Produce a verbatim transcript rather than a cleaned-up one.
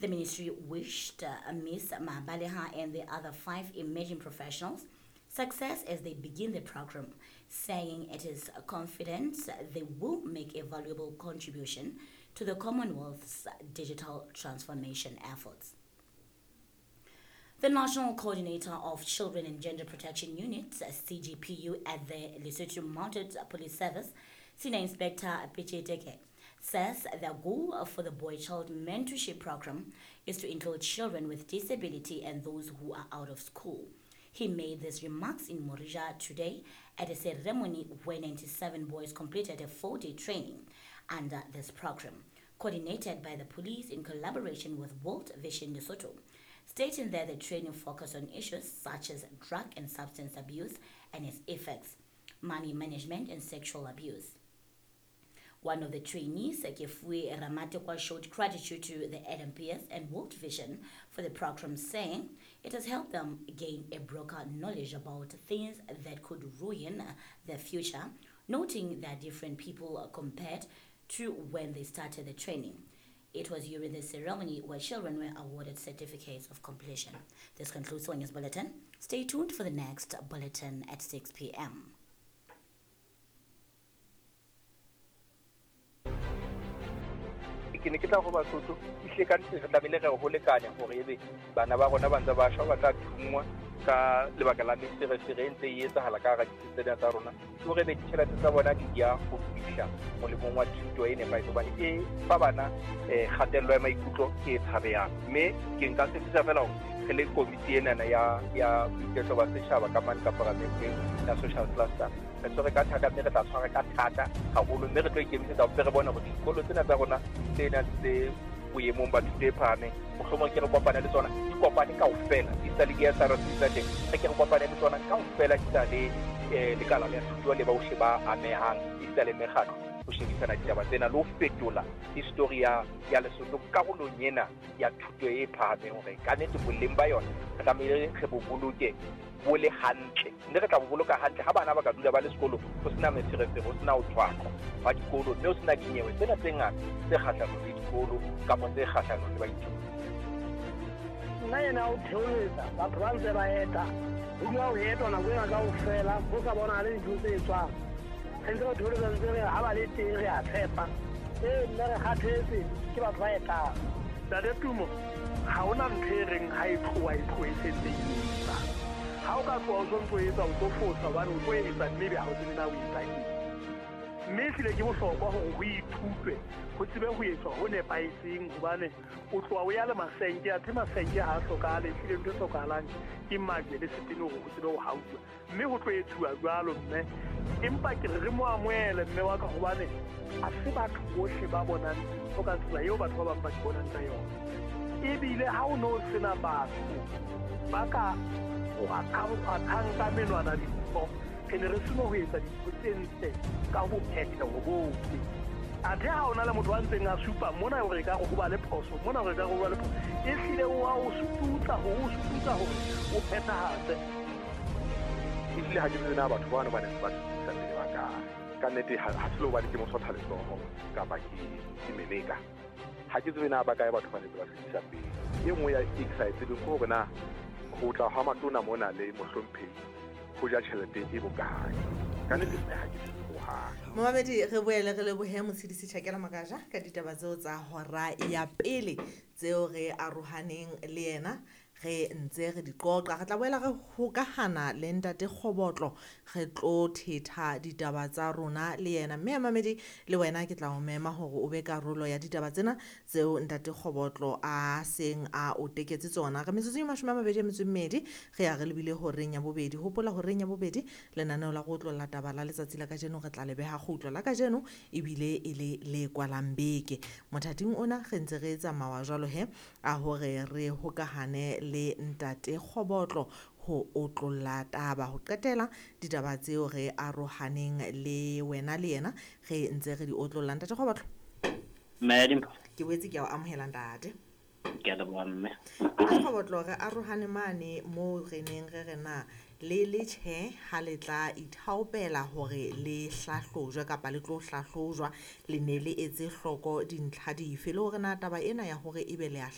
The ministry wished uh, Miz Mabaleha and the other five emerging professionals success as they begin the program, saying it is confident they will make a valuable contribution to the Commonwealth's digital transformation efforts. The National Coordinator of Children and Gender Protection Unit, C G P U, at the Lesotho Mounted Police Service, Senior Inspector Picheteke, says the goal for the Boy Child Mentorship Program is to include children with disability and those who are out of school. He made these remarks in Morija today at a ceremony where ninety-seven boys completed a four-day training under this program, coordinated by the police in collaboration with World Vision Lesotho, stating that the training focused on issues such as drug and substance abuse and its effects, money management and sexual abuse. One of the trainees, Kefue Ramatekwa, showed gratitude to the L M P S and World Vision for the program, saying it has helped them gain a broader knowledge about things that could ruin their future, noting that different people compared to when they started the training. It was during the ceremony where children were awarded certificates of completion. This concludes the News Bulletin. Stay tuned for the next bulletin at six P M Ke ne ke tla go Basotho ehlile ka nnete re tlamehile re ho lekanya hore ebe bana ba rona ba ntse ba shwa ba tla thungwa ka lebaka la meferefere e ntse e etsahala ka hara ditsi tsena tsa rona, ke hore ebe ditjhelete tsa bona di ya ho fihla molemong wa thuto e nepahetseng hobane e fa bana eh kgatello ya maikutlo e tshabehang. Mme ke nka tshepisha fela hore re le komiti enana ya ya boiketlo ba setjhaba ka mane ka paramenteng ya social cluster re tshwere ka thata, mme re tla tshwara ka thata haholo, mme re tlo ikemisetsa hore re bone hore dikolo tsena tsa rona tse nang tse boemong ba thuto e phahameng mohlomong ke re kopane le tsona di kopane kaofela, di sa le di S R C tsa teng, re ke re kopane le tsona kaofela di sa le eh lekala la thuto le bohle ba amehang di sa le mekgatlo ho shebisana ditaba tsena le ho fetola history ya ya Lesotho karolong ena ya thuto e phahameng hore ka nnete boleng ba yona re tlamehile re bo boloke bo le hantle, mme re tla bo boloka hantle ha bana ba ka dula ba le sekolo ho sena meferefere, ho sena ho tshwaqwa ba dikolo, mme ho sena dinyewe tsena tse ngata tse kgahlanong le dikolo kapa tse kgahlanong le baithuti. Nna ena o theoletsa batho ba ntse ba eta ho dula ho etwa nako ena kaofela ho sa bonahale dintho tse etswang. Re ntse re theoletsa ntse re ha ba le teng re a tshepa, ee mme re kgathetse ke batho ba etang. Ntate Tumo, ha hona ntho e reng ha e tloha e tlohe e sentse e etsa. Ha o ka tloha o sontso etsa o tlo fosa hobane o tlo etsa mme ebe ha o tsebe na o etsa eng. Mme ehlile ke bohlokwa hore ho ithutwe, ho tsebe ho etswa ho nepahetseng hobane o tloha o ya le masenke, athe masenke ha a hlokahale, ehlile ntho e hlokahalang ke majwe le setene hore o tsebe ho hauwa. Mme ho tlo etsuwa jwalo mme, empa ke re re mo amohele mme wa ka hobane ha se batho bohle ba bonang dintho ka tsela eo batho ba bang ba di bonang ka yona. Ebile ha o no sena batho ba ka kgwathang ka menwana dintho, re ne re seno ho etsa dintho tse ntle ka bophetheho bohle. Athe ha o na le motho a ntseng a supa mona hore e ka re ho ba le phoso, mona hore e ka re ho ba le phoso, ehlile o a o sututsa hore o sututsa hore o phethahatse. Ehlile ha ke tsebe na batho bano ba ne ba tsebisa pele ba kae. Ka nnete ha se le hobane ke mosotha letsoho kapa ke ke meleka. Ha ke tsebe na ba kae batho ba ne ba tsebisa pele. E nngwe ya e ke sa e tsebeng ke hore na ho tla ha matona mona le mohlomphehi ho ja tjhelete e bokae. Ka nnete nna ha ke tsebe hohang. Momamedi, re boele re lebohe Motshedisi Tjhakela Makaja ka ditaba tseo tsa hora ya pele tseo re arohaneng le yena re ntse re di qoqa. Re tla boela re hokahana le Ntate Kgobotlo, re tlo thetha ditaba tsa rona le yena. Mme mamedi le wena ke tla o mema hore o be karolo ya ditaba tsena tseo Ntate Kgobotlo a seng a o teketse tsona. Re metsotso e mashome a mabedi a metso e mmedi re ya re lebile horeng ya bobedi. Hopola horeng ya bobedi lenaneo la go otlolla taba la letsatsi la kajeno re tla le beha kgutlo la kajeno ebile e le le kwalang beke. Mothating ona re ntse re tsamaya jwalo he a hore re hokahane le Ntate Kgobotlo ho otlolla taba ho qetela ditaba tseo re arohaneng le wena le yena re ntse re di otlolla. Ntate Kgobotlo, Mme, ke boetse ke a o amohela ntate. Ke a leboha mme. Ntate Kgobotlo, re arohane mane moo re neng re re na le le tjhe ha le tla ithaopela hore le hlahlojwe kapa le tlo hlahlojwa, le ne le etse hloko dintlha dife le hore na taba ena ya hore ebe le a